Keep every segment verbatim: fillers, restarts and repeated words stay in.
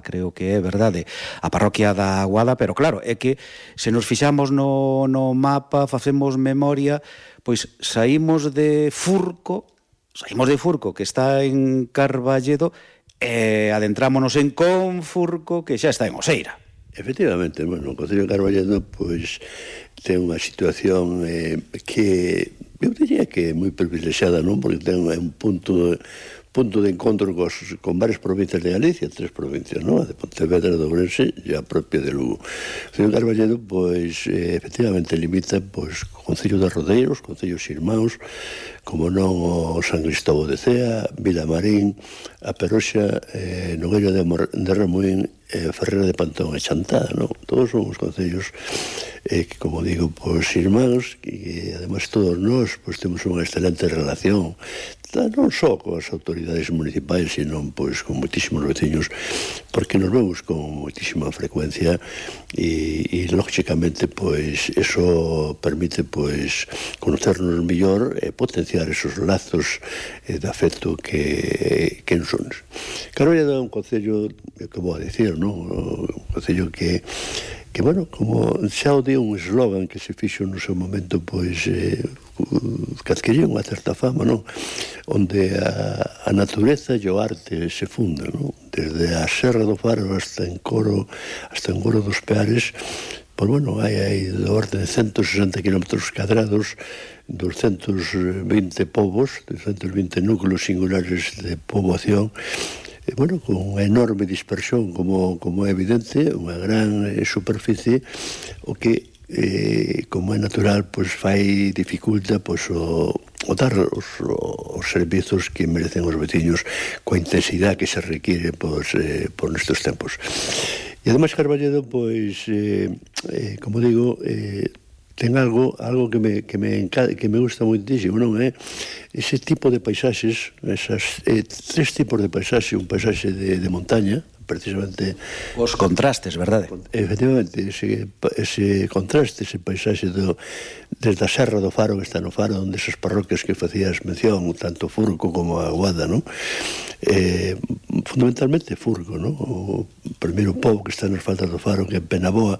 creo que é verdade, a parroquia da Aguada, pero claro, é que se nos fixamos no, no mapa, facemos memoria, pois saímos de Furco, saímos de Furco, que está en Carballedo, e adentrámonos en Confurco, que xa está en Oseira. Efectivamente, bueno, o Concello de Carballedo, pois, ten unha situación eh, que, eu diría que é moi privilexiada, non? Porque ten un punto... punto de encontro cos, con varias provincias de Galicia, tres provincias, non? A de Pontevedra, de Ourense e a propia de Lugo. O Concello de Carballedo, pois, eh, efectivamente limita, pois, co Concello de Rodeiros, concellos irmáns, como non o San Cristóbal de Cea, Vilamarín, a Peroxa, eh, Nogueira de, de Ramuín, eh, Ferrera de Pantón e Chantada, non? Todos son os concellos eh, que, como digo, pois, irmáns, e ademais todos nós, pois, temos unha excelente relación, non só coas autoridades municipais, sino pois, con moitísimos veciños, porque nos vemos con moitísima frecuencia e, e lógicamente, pois, eso permite, pois, conocernos mellor e potenciar esos lazos eh, de afecto que, que nos son. Carballedo é un concello, que vou a dicir, non? Un concello que que, bueno, como xa o di un eslogan que se fixo no seu momento, pois, eh, que adquiría unha certa fama, non? Onde a, a natureza e o arte se fundan, non? Desde a Serra do Faro hasta en Coro, hasta en Coro dos Peares, pois, bueno, hai aí do orde de ciento sesenta kilómetros cadrados, doscientos vinte povos, doscientos vinte núcleos singulares de poboación, e, bueno, con unha enorme dispersión, como, como é evidente, unha gran eh, superficie, o que, eh, como é natural, pois fai dificulta pois, o, o dar os, os servizos que merecen os veciños coa intensidade que se requiere pois, eh, por nestes tempos. E ademais Carballedo, pois, eh, eh, como digo, eh, ten algo algo que me, que me, que me gusta moitísimo, non é? Ese tipo de paisaxes, esas eh, tres tipos de paisaxe, un paisaxe de, de montaña, precisamente... Os contrastes, verdade? Efectivamente, ese, ese contraste, ese paisaxe do, desde a Serra do Faro, que está no Faro, onde esas parroquias que facías mención, tanto Furco como a Aguada, non? Eh, fundamentalmente Furco, non? O primeiro pobo que está nas faldas do Faro, que é Penaboa,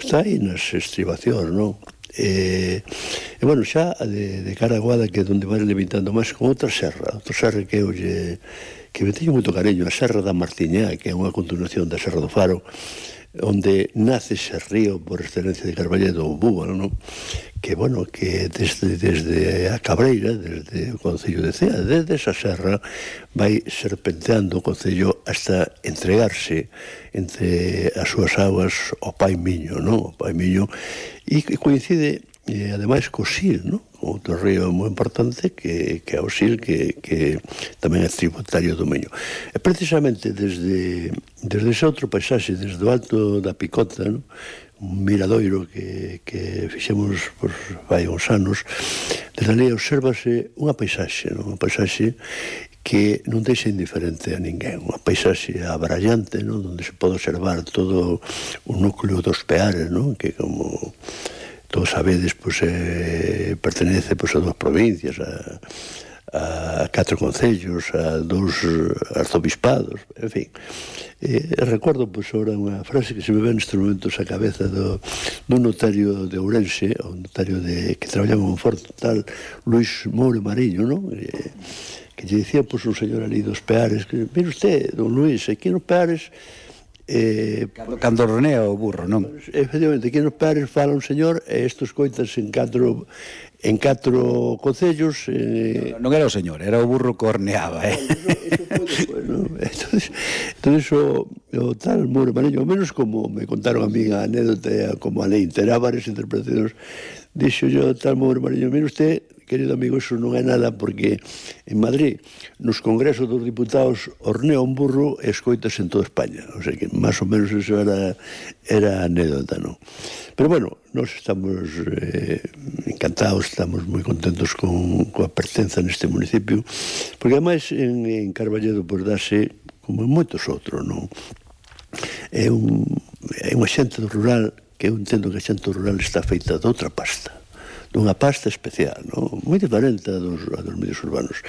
está aí nas estribacións, non? E, e bueno, xa de, de cara a Aguada, que é onde vai limitando máis, con outra serra, outra serra que eu lle, que me teño moito cariño, a Serra da Martiñá, que é unha continuación da Serra do Faro, onde nace ese río por excelencia de Carballedo, o Búbalo, non? Que, bueno, que desde, desde a Cabreira, desde o Concello de Cea, desde esa serra, vai serpenteando o Concello hasta entregarse entre as súas aguas ao Pai Miño, non? O Pai Miño, e que coincide, eh, ademais, co Sil, non? Outro río moi importante que, que é o Sil, que, que tamén é tributario do Miño. E precisamente desde, desde ese outro paisaxe, desde o alto da Picota, non? Un miradoiro que, que fixemos por vai uns anos, desde ali obsérvase unha paisaxe, non? Unha paisaxe que non deixa indiferente a ninguén, unha paisaxe abrallante, non? Onde se pode observar todo o núcleo dos Peares, non? Que como todos sabedes, pois, eh, pertenece pois, a dúas provincias, a, a catro concellos, a dous arzobispados, en fin. Eh, recordo, pois, ahora unha frase que se me ve nestes momentos a cabeza do, do notario de Ourense, o notario de, que traballaba en Monforte, tal Luis Moure Mariño, non? Eh, que lle dicía, pois, un señor ali dos Peares, que, mire usted, don Luis, aquí nos Peares, Eh, cando, cando ronea o burro, non? Efectivamente, aquí nos Peares fala un señor e isto coitas en catro en catro concellos. Eh... Non, non era o señor, era o burro que horneaba, eh? Eso, eso foi despois, non? Entonces, entonces o, o tal Moure Mariño, ao menos como me contaron a mí a anécdota, como a lei terá varias interpretacións, dixo yo tal Moure Mariño, mire usted, querido amigo, eso non é nada, porque en Madrid, nos congresos dos diputados, hornea un burro e escoitas en toda España. O sea que, máis ou menos, eso era, era anécdota, non? Pero, bueno, nós estamos eh, encantados, estamos moi contentos con, con a pertenza neste municipio, porque, ademais, en, en Carballedo, pois, dase, como en moitos outros, non? É, un, é unha xente rural, que eu entendo que a xente rural está feita de outra pasta, dunha pasta especial, non? Moi diferente a dos, a dos medios urbanos.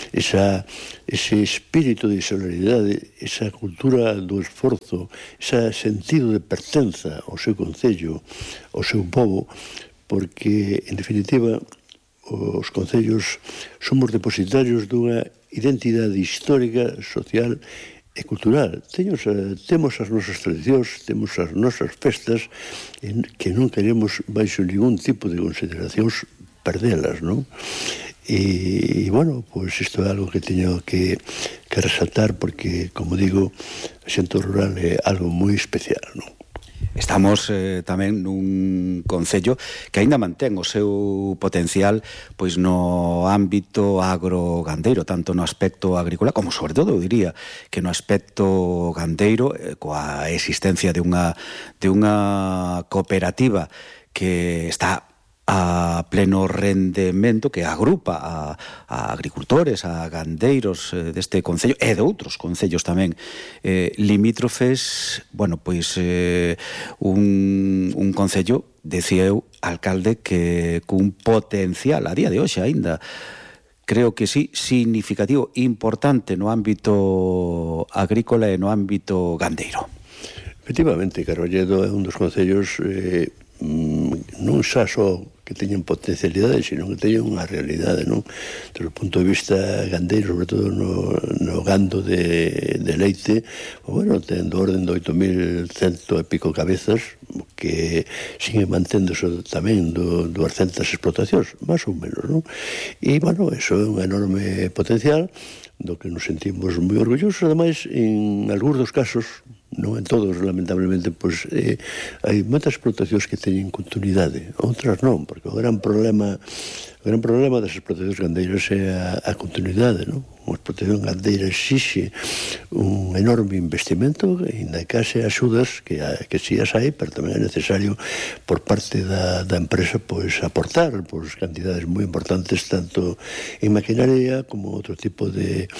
Esa, ese espírito de solidaridade, esa cultura do esforzo, ese sentido de pertenza ao seu concello, ao seu povo, porque, en definitiva, os concellos somos depositarios dunha identidade histórica, social e cultural. Teños, temos as nosas tradicións, temos as nosas festas que non queremos, baixo ningún tipo de consideracións, perdelas, non? E, bueno, pois isto é algo que teño que, que resaltar porque, como digo, a xente rural é algo moi especial, non? Estamos eh, tamén nun concello que aínda mantén o seu potencial pois no ámbito agrogandeiro, tanto no aspecto agrícola como, sobre todo, eu diría que no aspecto gandeiro, eh, coa existencia de unha, de unha cooperativa que está a pleno rendemento, que agrupa a, a agricultores, a gandeiros eh, deste concello e de outros concellos tamén eh, limítrofes. Bueno, pois eh, un, un concello, decía eu, alcalde, que cun potencial a día de hoxe aínda, creo que sí, significativo, importante no ámbito agrícola e no ámbito gandeiro. Efectivamente, Carballedo é un dos concellos eh, non xa só que teñen potencialidade, sino que teñen unha realidade, non? Desde o punto de vista gandeiro, sobre todo no, no gando de, de leite, bueno, ten do orden de oito mil cento e pico cabezas, que sigue manténdose tamén do duascentas explotacións, máis ou menos, non? E, bueno, eso é un enorme potencial do que nos sentimos moi orgullosos, ademais, en algúns dos casos, non en todos, lamentablemente, pois eh, hai moitas explotacións que teñen continuidade, outras non, porque o gran problema o gran problema das explotacións gandeiras é a, a continuidade, non? Unha explotación gandeira exixe un enorme investimento, ainda que haxe axudas que, que si as hai, pero tamén é necesario por parte da, da empresa pois aportar pois cantidades moi importantes tanto en maquinaria como outro tipo de,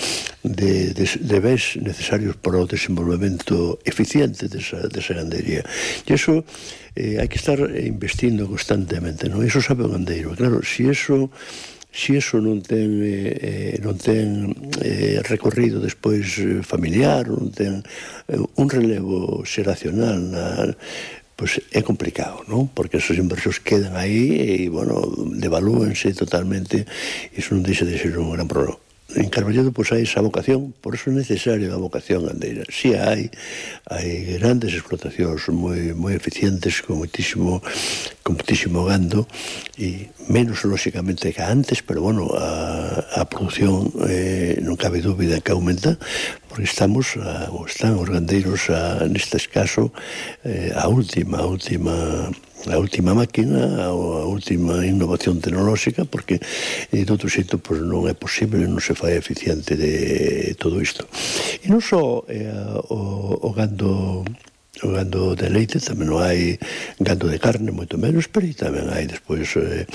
de, de, de bens necesarios para o desenvolvemento eficiente desa, desa gandería. E iso eh, hai que estar investindo constantemente, non? Iso sabe o gandeiro. Claro, se iso se iso non ten eh, non ten eh, recorrido despois familiar, non ten eh, un relevo xeracional na, pois é complicado, non? Porque esos inversores quedan aí e, bueno, devalúense totalmente, e iso non deixa de ser un gran problema. En Carballedo pois hai esa vocación, por eso é necesaria a vocación gandeira. Si hai, hai grandes explotacións moi moi eficientes con moitísimo con moitísimo gando e menos lóxicamente que antes, pero bueno, a, a produción eh, non cabe dúbida que aumenta, porque estamos a, están os gandeiros a, neste caso eh, a última, a última a última máquina, a última innovación tecnolóxica, porque de outro xeito pois, non é posible, non se fai eficiente de todo isto. E non só eh, o, o gando o gando de leite, tamén non hai gando de carne, moito menos, pero tamén hai despois eh,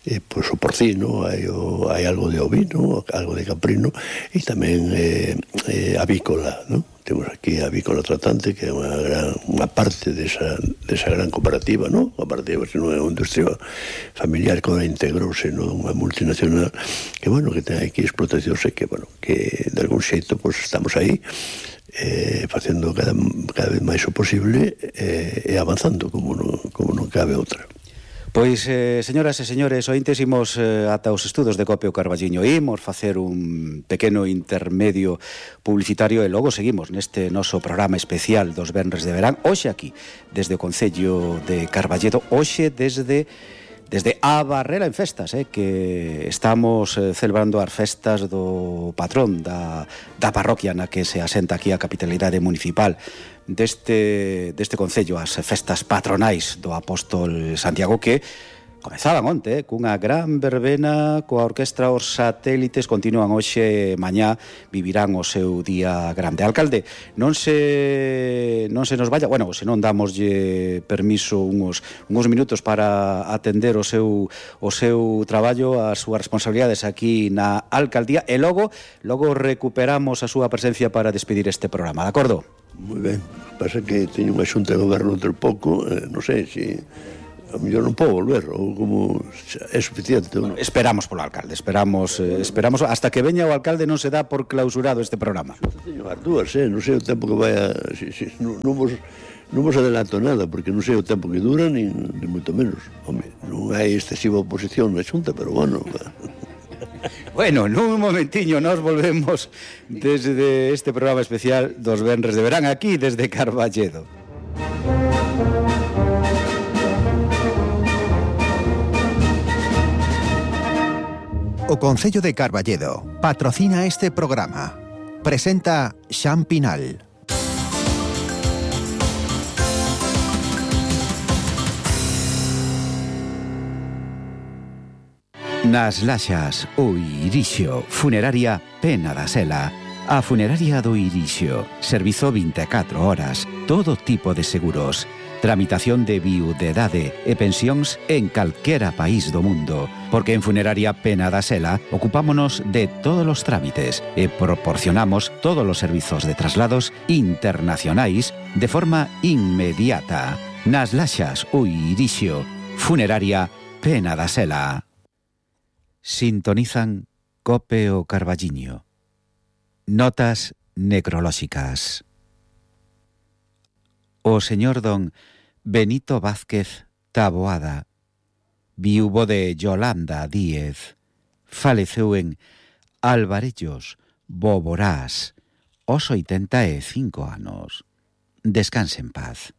eh, pois, o porcino, hai, o, hai algo de ovino, algo de caprino, e tamén eh, eh, avícola, non? Temos aquí a Avícola Tratante, que é unha, gran, unha parte desa, desa gran cooperativa, non? Unha cooperativa que non é unha industria familiar que agora integrouse nunha multinacional, que, bueno, que ten aquí explotacións e que, bueno, que de algún xeito, pois, estamos aí, eh, facendo cada, cada vez máis o posible eh, e avanzando como non, como non cabe outra. Pois, eh, señoras e señores, ointes, imos eh, ata os estudos de Copio Carballiño. Imos facer un pequeno intermedio publicitario e logo seguimos neste noso programa especial dos venres de verán. Hoxe aquí, desde o Concello de Carballedo, hoxe desde... desde a Barrera en festas, eh, que estamos eh, celebrando as festas do patrón da, da parroquia na que se asenta aquí a capitalidade municipal deste, deste concello, as festas patronais do apóstol Santiago, que comezaban onte, eh, cunha gran verbena coa orquestra Os Satélites, continúan hoxe, mañá vivirán o seu día grande. Alcalde, non se non se nos vaya, bueno, se non damoslle permiso uns, uns minutos para atender o seu o seu traballo, as súas responsabilidades aquí na alcaldía, e logo logo recuperamos a súa presencia para despedir este programa, de acordo? Moi ben, pasa que teño unha xunta de goberno outro pouco, eh, non sei se a mellor non podo volver, ou como é suficiente. Bueno, esperamos polo alcalde, esperamos eh, esperamos hasta que veña o alcalde, non se dá por clausurado este programa. Teño as dúas, eh? non sei o tempo que vai a... Si, si, non, non vos... Non vos adelanto nada, porque non sei o tempo que dura, ni, ni moito menos. Home, non hai excesiva oposición na Xunta, pero bueno... Bueno, nun momentiño nos volvemos desde este programa especial dos venres de verán, aquí desde Carballedo. O Concello de Carballedo patrocina este programa. Presenta Xan Pinal. Nas Laxas, o Irixio, Funeraria Pena da Sela. A Funeraria do Irixio, servizo vinte e catro horas, todo tipo de seguros, tramitación de viudedade e pensións en calquera país do mundo, porque en Funeraria Pena da Sela ocupámonos de todos os trámites e proporcionamos todos os servizos de traslados internacionais de forma inmediata. Nas Laxas, o Irixio, Funeraria Pena da Sela. Sintonizan Cope o Carballiño. Notas necrolóxicas. O señor don Benito Vázquez Taboada, viúvo de Yolanda Díez, faleceu en Alvarellos, Boborás, aos oitenta e cinco anos. Descanse en paz.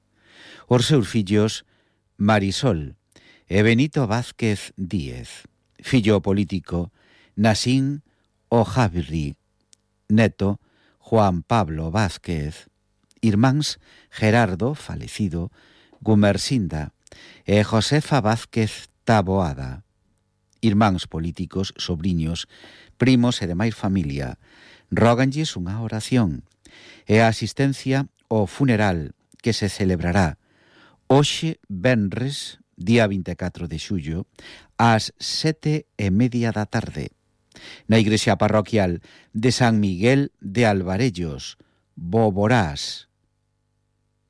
Os seus fillos Marisol e Benito Vázquez Díez, fillo político Nasín Ojabri, neto Juan Pablo Vázquez, irmáns Gerardo, falecido, Gumersinda e Josefa Vázquez Taboada, irmáns políticos, sobriños, primos e demais familia, róganlles unha oración e a asistencia ao funeral que se celebrará hoxe venres, día vinte e catro de xullo, ás sete e media da tarde, na igrexa parroquial de San Miguel de Alvarellos, Boborás.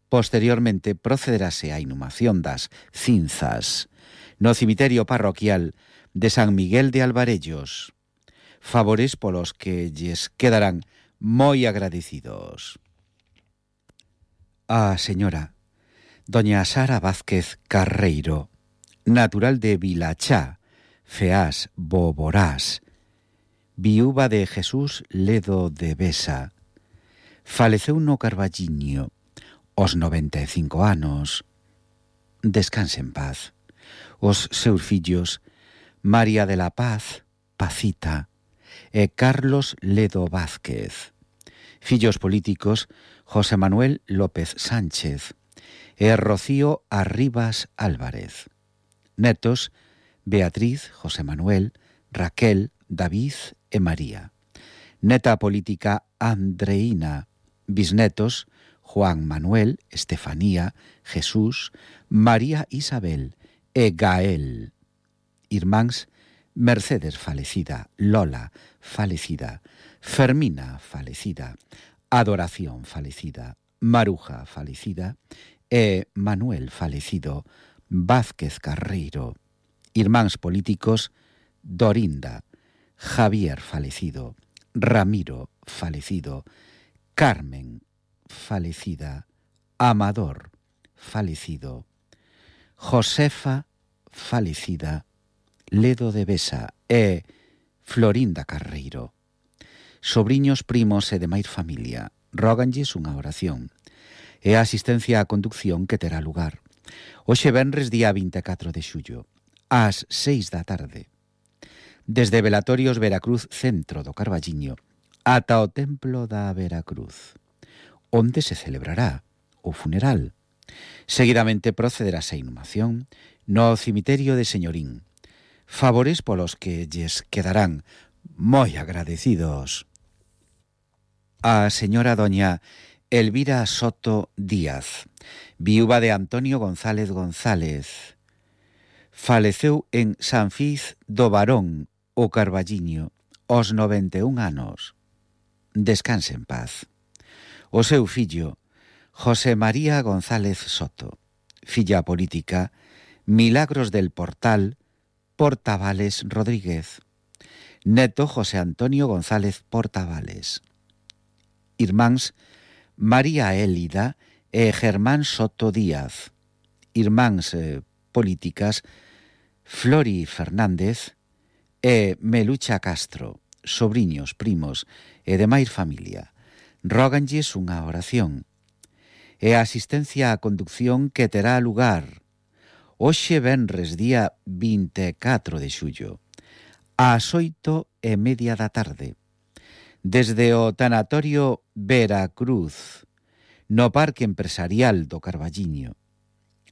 Posteriormente procederase a inhumación das cinzas no cemiterio parroquial de San Miguel de Alvarellos, favores polos que lles quedarán moi agradecidos. A señora doña Sara Vázquez Carreiro, natural de Vilachá, Feás, Boborás, viúva de Jesús Ledo de Besa, faleceu no Carballiño aos noventa e cinco anos. Descanse en paz. Os seus fillos María de la Paz, Pacita, e Carlos Ledo Vázquez, fillos políticos José Manuel López Sánchez e Rocío Arribas Álvarez, netos Beatriz, José Manuel, Raquel, David e María, neta política Andreína, bisnetos Juan Manuel, Estefanía, Jesús, María Isabel e Gael, irmáns Mercedes falecida, Lola falecida, Fermina falecida, Adoración falecida, Maruja falecida e Manuel falecido Vázquez Carreiro, irmáns políticos Dorinda, Javier falecido, Ramiro falecido, Carmen falecida, Amador falecido, Josefa falecida, Ledo de Besa e Florinda Carreiro. Sobriños, primos e demais familia róganlles unha oración e a asistencia á conducción que terá lugar hoxe venres día vinte e catro de xullo ás seis da tarde desde Velatorios Veracruz, centro do Carballiño, ata o Templo da Veracruz, onde se celebrará o funeral. Seguidamente procederase a inhumación no cemiterio de Señorín, favores polos que lles quedarán moi agradecidos. A señora doña Elvira Soto Díaz, viúva de Antonio González González, faleceu en San Fiz do Barón, o Carballiño, aos noventa e un anos. Descanse en paz. O seu fillo, José María González Soto, filla política Milagros del Portal, Portavales Rodríguez. Neto José Antonio González Portavales. Irmáns María Élida e Germán Soto Díaz. Irmáns eh, políticas Flori Fernández e Melucha Castro, sobriños, primos e demais familia. Róganlles unha oración. E a asistencia á conducción que terá lugar hoxe venres día vinte e catro de xullo ás oito e media da tarde desde o tanatorio Veracruz no Parque Empresarial do Carballiño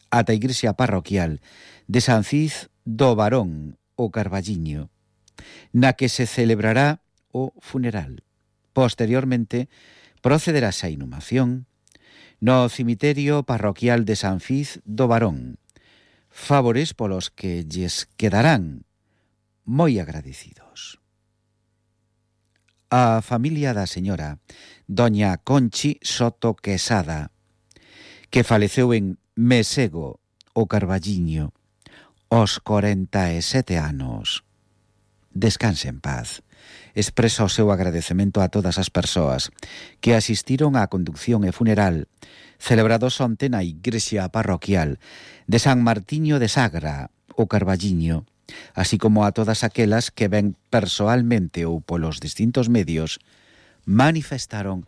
ata a igrexa parroquial de San Cis do Barón o Carballiño, na que se celebrará o funeral. Posteriormente procederase a inhumación no cemiterio parroquial de San Cis do Barón, favores polos que lles quedarán moi agradecidos. A familia da señora doña Conchi Soto Quesada, que faleceu en Mesego, o Carballiño, aos corenta e sete anos. Descanse en paz. Expresa o seu agradecemento a todas as persoas que asistiron á conducción e funeral celebrados onte na igrexa parroquial de San Martiño de Sagra, o Carballiño, así como a todas aquelas que ven persoalmente ou polos distintos medios manifestaron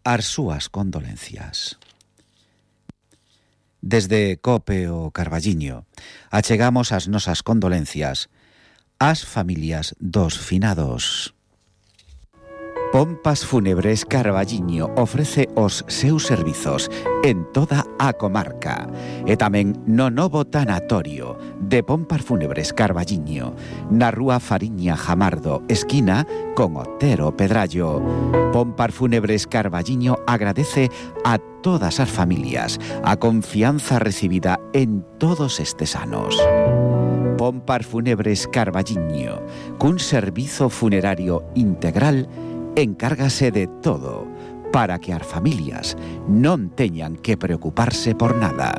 as súas condolencias. Desde COPE o Carballiño achegamos as nosas condolencias ás familias dos finados. Pompas Fúnebres Carballiño ofrece os seus servizos en toda a comarca e tamén no novo tanatorio de Pompas Fúnebres Carballiño na rúa Fariña Jamardo, esquina con Otero Pedrallo. Pompas Fúnebres Carballiño agradece a todas as familias a confianza recibida en todos estes anos. Pompas Fúnebres Carballiño, cun servizo funerario integral, encárgase de todo para que as familias non teñan que preocuparse por nada.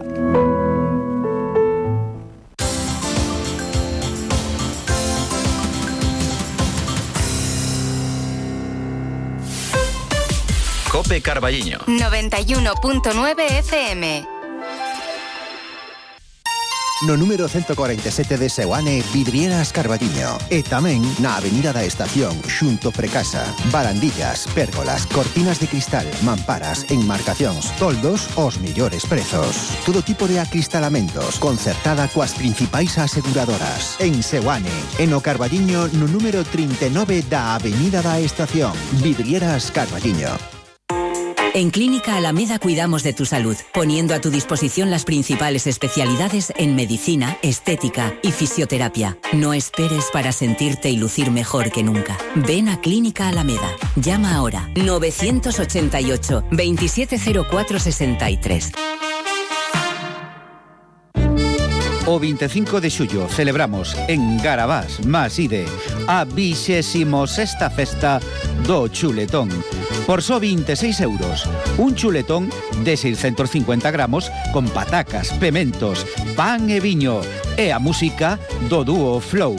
COPE Carballiño noventa y uno punto nueve F M. No número ciento cuarenta e sete de Seoane, Vidrieras Carballiño. E tamén na Avenida da Estación, xunto Precasa. Barandillas, pérgolas, cortinas de cristal, mamparas, enmarcacións, toldos, os mellores prezos. Todo tipo de acristalamentos, concertada coas principais aseguradoras. En Seoane, en o Carballiño, no número trinta e nove da Avenida da Estación. Vidrieras Carballiño. En Clínica Alameda cuidamos de tu salud, poniendo a tu disposición las principales especialidades en medicina, estética y fisioterapia. No esperes para sentirte y lucir mejor que nunca. Ven a Clínica Alameda. Llama ahora novecientos ochenta y ocho, veintisiete cero cuatro sesenta y tres. O vinte e cinco de xullo celebramos en Garabás, Maside, a vixésimo sexta festa do chuletón. Por só vinte e seis euros, un chuletón de seiscentos cincuenta gramos con patacas, pementos, pan e viño e a música do dúo Flow.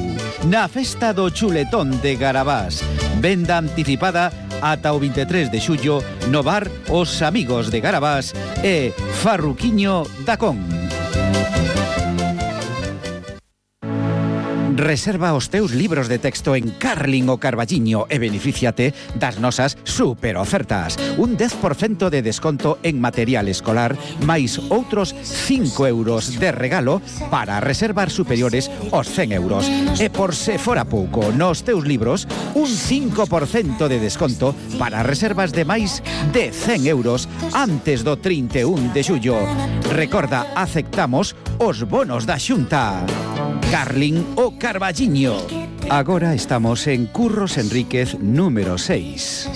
Na festa do chuletón de Garabás, venda anticipada ata o vinte e tres de xullo no bar Os Amigos de Garabás e Farruquiño da Con. Reserva os teus libros de texto en Carling o Carballiño e benefíciate das nosas super ofertas. Un dez por cento de desconto en material escolar, máis outros cinco euros de regalo para reservar superiores aos cen euros. E por se fora pouco, nos teus libros, un cinco por cento de desconto para reservas de máis de cen euros antes do trinta e un de xullo. Recorda, aceptamos os bonos da Xunta. Carling o Carballiño. Agora estamos en Curros Enríquez número seis.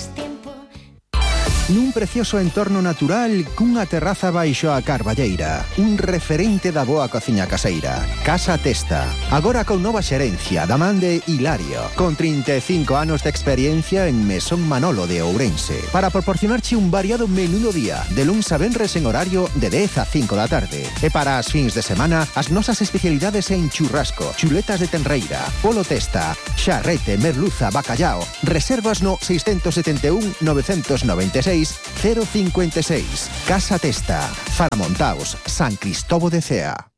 nun precioso entorno natural cunha terraza baixo a carballeira. Un referente da boa cociña caseira. Casa Testa. Agora con nova xerencia da man de Hilario, con trinta e cinco anos de experiencia en Mesón Manolo de Ourense, para proporcionarche un variado menú do día, de luns a venres en horario de dez a cinco da tarde. E para as fins de semana, as nosas especialidades en churrasco, chuletas de tenreira, polo testa, xarrete, merluza, bacallao. Reservas no seis sete un, nove nove seis, cero cinco seis. Casa Testa, Faramontaos, San Cristobo de Cea.